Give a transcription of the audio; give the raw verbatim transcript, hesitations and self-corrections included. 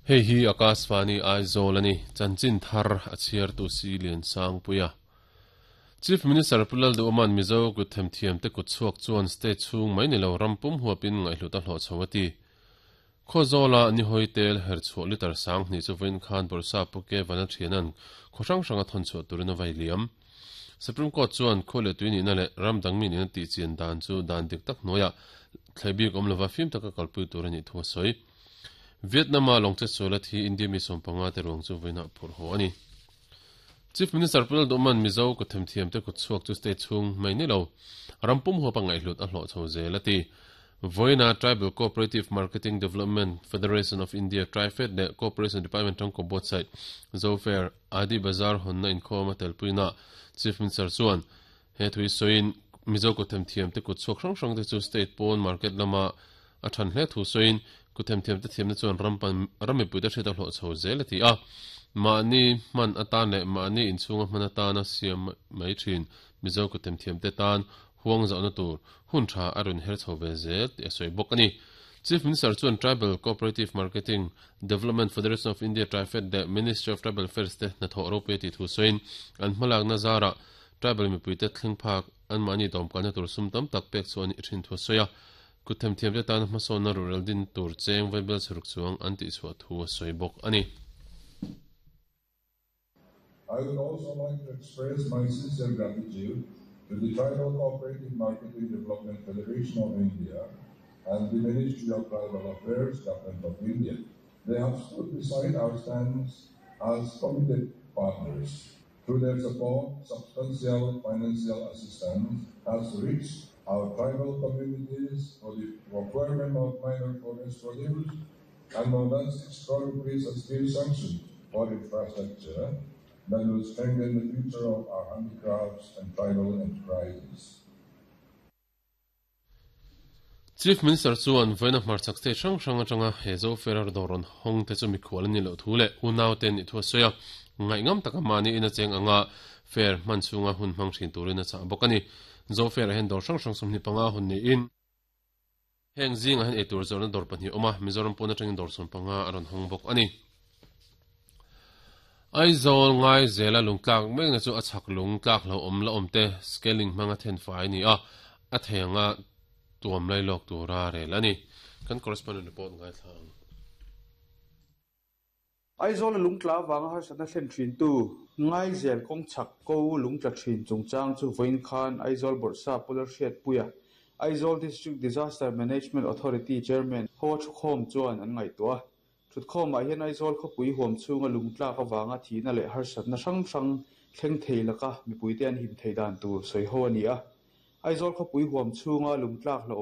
Hei hi Akashvani Aizawl ani chanchin thar a chhiar tu si lian sang puia Chief Minister Pulal Duoman Mizo kut them thiam te kut chuak chuan state chung mai ni lo rampum huapin ngai hluta hlo chawati Khozola ni hoitel her chu liter sang ni chu vin khan borsa puke vana thianan khosang sanga thon chu turina vai liam Supreme Court chuan khole tuini na le ramdang mi ni ti chian dan chu dan dik tak noya thlaibi kom lova fim taka kalpui turani thu soi Vietnam a longche sola thi India mi sompanga te rong chu veina phur ho ani Chief Minister Pulal Duman Mizo ko them thiam te ko chuak chu state chung mai ni lo rampum ho pangai hlut a hlo chho zelati Voina Tribal Cooperative Marketing Development Federation of India Trifed le Cooperation Department tang ko both side Zofair Adi Bazar honna in khoma telpuina Chief Minister chuan he thui soin Mizo ko them thiam te ko chuak hrang hrang te chu state pon market lama a than hle thu soin ku them thiam te thiam na chuan rampan rami pui te hreta hlo chho zelati a mani man atan le mani inchunga man atana siam mai thin Mizo ko them thiam te tan huang zau na tur hun tha arun her chho ve zel ti soi bok ani Chief Minister chuan Tribal Cooperative Marketing Development Federation of India Trifed the Ministry of Tribal Affairs te na tho ro pe ti thu soin an hmalak na zara tribal mi pui te thleng phak an mani dom kan tur sum tam tak pek chuan i thin thu soya ku them thiam te tan hmasawn na rural din tur cheng vaibel suruk chuang an ti chhuah thu soi bok ani I would also like to express my sincere gratitude to the Tribal Cooperative Marketing Development Federation of India and the Ministry of Tribal Affairs, Government of India. They have stood beside our stance as committed partners. Through their support, substantial financial assistance has reached our tribal communities for the procurement of minor forest produce, and more than six crore rupees has been sanctioned for infrastructure that will strengthen the future of our handicrafts and tribal enterprises. Chief Minister chuan voina hmarchak state hrang hrang atanga hezo ferar doron hong te chu mikhual ani lo thu le unaw ten ni thu soya ngai ngam taka mani ina cheng anga fair man chunga hun hmang thin turin a cha bawk ani zo fair hen dor hrang hrang sum ni panga hun ni in heng zinga hen etur zawrna dawr pahnih awm a Mizoram pawn atangin dawr sawm panga a rawn hawng bawk ani Aizawl ngai zela lungtlak mek na chu a chak lungtlak lo awm la awm te scaling hmanga then fai ni a a theianga tuam lai lawk tura rel ani kan correspondent report ngai thlang Aizawl lungtla wanga har sana thlen thin tu ngai zel kong chak ko lungtla thin chungchang chu voin khan Aizawl borsa polar hriat puya Aizawl District Disaster Management Authority Chairman ho thukhom chuan an ngai tua thutkhom a hian Aizawl khawpui huam chunga lungtla ka wanga thina le har satna hrang hrang thleng thei laka mipui te an him thei dan tur soi ho ani a Aizawl khawpui huam chunga lungtlak lo